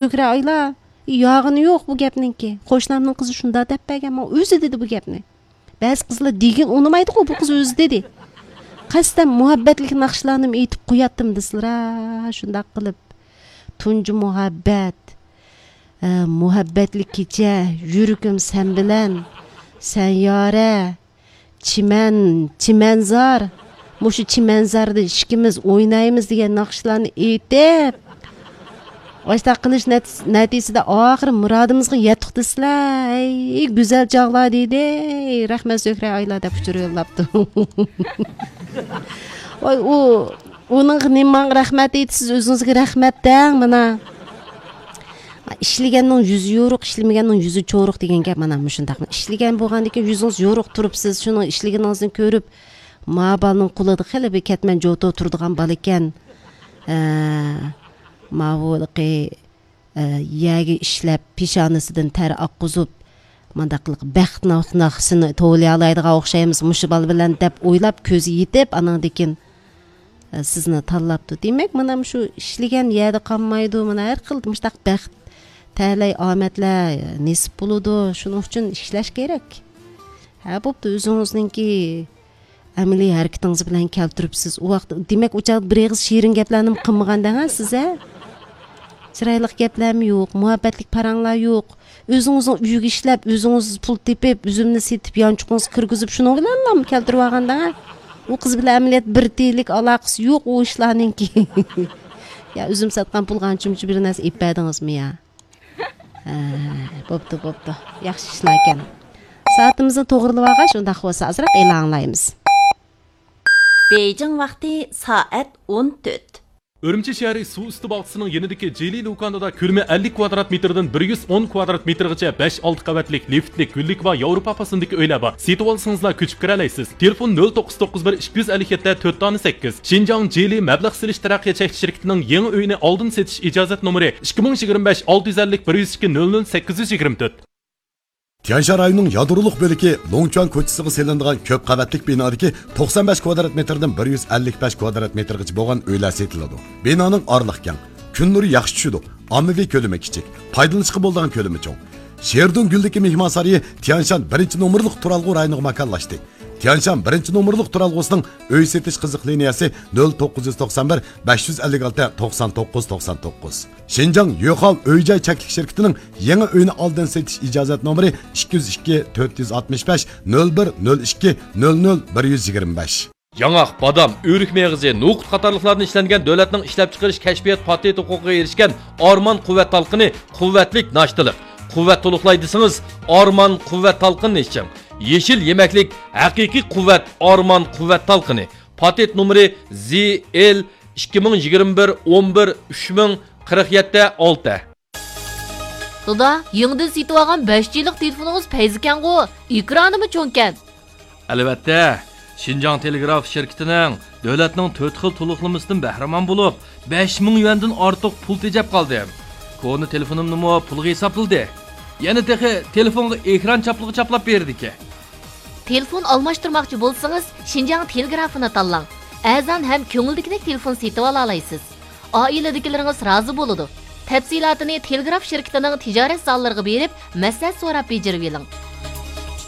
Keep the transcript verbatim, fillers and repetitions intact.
زۆھرە ئايلا، ياغىنى يوق بۇ گەپنىڭكى. قوشنامنىڭ قىزى شۇنداق دەپ بەرگەن، ماڭا ئۆزى دېدى بۇ گەپنى. بەزى قىزلار دېگىن ئۇنىمايدىغۇ، بۇ قىز ئۆزى دېدى. قەستەن مۇھەببەتلىك ناخشىلارنىمۇ ئېيتىپ قوياتتىم دېسىلەر، شۇنداق قىلىپ. تۇنجى مۇھەببەت، ئە، مۇھەببەتلىك كېچە، يۈرىكىم سەن بىلەن، سەن يارە، چىمەن، چىمەنزار، مۇشۇ چىمەنزاردا ئىككىمىز ئوينايمىز دېگەن ناخشىلارنى ئېيتىپ، ئاشتاق قىلىش نەت-، نەتىجىسىدە ئاخىرى مۇرادىمىزغا يەتتۇق دېسىلە، ئەي، گۈزەل چاغلار دېدى، رەھمەت زۆھرە ئايلا دەپ ئۇچۇر يوللاپتۇ. ۋاي، ئۇ، ئۇنىڭغا نېمە ماڭا رەھمەت ئېيتىسىز، ئۆزىڭىزگە رەھمەت دەڭ، مانا. ئىشلىگەننىڭ يۈزى يورۇق، ئىشلىمىگەننىڭ يۈزى چورۇق دېگەن گەپ مانا مۇشۇنداق. ئىشلىگەن بولغاندىكىن يۈزىڭىز يورۇق تۇرۇپسىز، شۇنىڭ ئىشلىگىنىڭىزنى كۆرۈپ، ما بالىنىڭ قولىدا خېلى بىر كەتمەن جوتو تۇرىدىغان بالا ئىكەن. ھە، ماۋۇ ھېلىقى، ئە، يەرگە ئىشلەپ، پېشانىسىدىن تەر ئاققۇزۇپ، مانداق قىلىپ بەخت ناخ-، ناخشىسىنى توۋلىيالايدىغان ئوخشايمىز مۇشۇ بالا بىلەن دەپ ئويلاپ، كۆزى يېتىپ، ئانىڭدىكىن، ئە، سىزنى تاللاپتۇ. دېمەك، مانا مۇشۇ ئىشلىگەن يەردە قالمايدۇ. مانا ھەر خىل مۇشۇنداق بەخت، تەلەي ئامەتلەر نېسىپ بولىدۇ. شۇنىڭ ئۈچۈن ئىشلەش كېرەك. ھە، بوپتۇ، ئۆزىڭىزنىڭكى ئەمەلىي ھەرىكىتىڭىز بىلەن كەلتۈرۈپسىز. ئۇ ۋاقىت، دېمەك، ئۇ چاغدا بىر ئېغىز شېرىن گەپلەرنىمۇ قىلمىغان دەڭ ھە سىز، ھە؟ چىرايلىق گەپلەرمۇ يوق، مۇھەببەتلىك پاراڭلار يوق. ئۆزىڭىزنىڭ ئۆيىگە ئىشلەپ، ئۆزىڭىز پۇل تېپىپ، ئۈزۈمنى سېتىپ، يانچۇقىڭىزغا كىرگۈزۈپ، شۇنىڭ بىلەنلا كەلتۈرۈۋالغان دەڭ ھە؟ ئۇ قىز بىلەن ئەمەلىيەتتە بىر تىيىنلىك ئالاقىسى يوق ئۇ ئىشلارنىڭكى. يا ئۈزۈم ساتقان پۇلغا ئانچە-مۇنچە بىر نەرسە ئېلىپ بەردىڭىزمۇ يا؟ ھە، بوپتۇ، بوپتۇ. ياخشى ئىشلاركەن. سائىتىمىزنى توغرىلىۋالغاچ، ئۇنداق بولسا ئازراق ئېلان ئاڭلايمىز. بېيجىڭ ۋاقتى سائەت ئون تۆت. ئۈرۈمچى شەھىرى سۇ ئۈستى باغچىسىنىڭ يېنىدىكى جىلى دۇكانىدا كۆلىمى ئەللىك كۋادرات مېتىردىن بىر يۈز ئون كۋادرات مېتىرغىچە بەش، ئالتە قەۋەتلىك لىفتلىك، گۈللۈك ۋە ياۋروپا پاسوندىكى ئۆيلەر بار. سېتىۋالسىڭىزلا كۆچۈپ كىرەلەيسىز. تېلېفون: نۆل توققۇز توققۇز بىر، ئىككى يۈز ئەللىك يەتتە، تۆت دانە سەككىز. شىنجاڭ جىلى مەبلەغ سېلىش تەرەققىيات چەكلىك شىركىتىنىڭ يېڭى ئۆيىنى ئالدىن سېتىش ئىجازەت نومۇرى: ئىككى مىڭ يىگىرمە بەش، ئالتە يۈز ئەللىك، بىر يۈز ئىككى، نۆل نۆل، سەككىز يۈز يىگىرمە تۆت. تيەنشان رايونىنىڭ يادرولۇق بۆلىكى لوڭچۈەن كوچىسىغا سېلىنىدىغان كۆپ قەۋەتلىك بىنادىكى توقسان بەش كۋادرات مېتىردىن بىر يۈز ئەللىك بەش كۋادرات مېتىرغىچە بولغان ئۆيلەر سېتىلىدۇ. بىنانىڭ ئارىلىقى كەڭ، كۈن نۇرى ياخشى چۈشىدۇ، ئاممىۋى كۆلىمى كىچىك، پايدىلىنىشقا بولىدىغان كۆلىمى چوڭ. شېردۇڭ گۈلدىكى مېھمانسارىيى تيەنشان بىرىنچى نومۇرلۇق تۇرالغۇ رايونىغا ماكانلاشتى. تيەنشان بىرىنچى نومۇرلۇق تۇرالغۇسىنىڭ ئۆي سېتىش قىزىق لىنىيەسى: نۆل توققۇز يۈز توقسان بىر، بەش يۈز ئەللىك ئالتە، توقسان توققۇز، توقسان توققۇز. شىنجاڭ يۆخاۋ ئۆي جاي چەكلىك شىركىتىنىڭ يېڭى ئۆينى ئالدىن سېتىش ئىجازەت نومۇرى: ئىككى يۈز ئىككى، تۆت يۈز ئاتمىش بەش، نۆل بىر، نۆل ئىككى، نۆل نۆل، بىر يۈز يىگىرمە بەش. ياڭاق، بادام، ئۆرۈك مېغىزى، نوقۇت قاتارلىقلاردىن ئىشلەنگەن دۆلەتنىڭ ئىشلەپچىقىرىش كەشپىيات پاتېنت ھوقۇقىغا ئېرىشكەن ئارمان قۇۋۋەت تالقىنى قۇۋۋەتلىك ناشتىلىق. قۇۋۋەت تولۇقلاي دېسىڭىز، ئارمان قۇۋۋەت تالقىنىنى ئىچىڭ. يېشىل يېمەكلىك، ھەقىقىي قۇۋۋەت، ئارمان قۇۋۋەت تالقىنى. پاتېنت نومۇرى زى ئېل ئىككى مىڭ يىگىرمە بىر، ئون بىر، ئۈچ مىڭ، قىرىق يەتتە، ئالتە. دادا، يېڭىدىن سېتىۋالغان بەش جىلىق تېلېفونىڭىز پەيزىكەنغۇ؟ ئېكرانىمۇ چوڭكەن. ئەلۋەتتە، شىنجاڭ تېلېگراف شىركىتىنىڭ دۆلەتنىڭ تۆت خىل تولۇقلىمىسىدىن بەھرىمەن بولۇپ، بەش مىڭ يۈەندىن ئارتۇق پۇل تېجەپ قالدىم. كونا تېلېفونۇمنىمۇ پۇلغا ھېسابلىدى. يەنە تېخى تېلېفونغا ئېكران چاپلىقى چاپلاپ بېرىدىكەن. تېلېفون ئالماشتۇرماقچى بولسىڭىز، شىنجاڭ تېلېگرافىنى تاللاڭ. ئەرزان ھەم كۆڭۈلدىكىدەك تېلېفون سېتىۋالالايسىز. ئائىلىدىكىلىرىڭىز رازى بولىدۇ. تەپسىلاتىنى تېلېگراف شىركىتىنىڭ تىجارەت زاللىرىغا بېرىپ، مەسلىھەت سوراپ بېجىرىۋېلىڭ.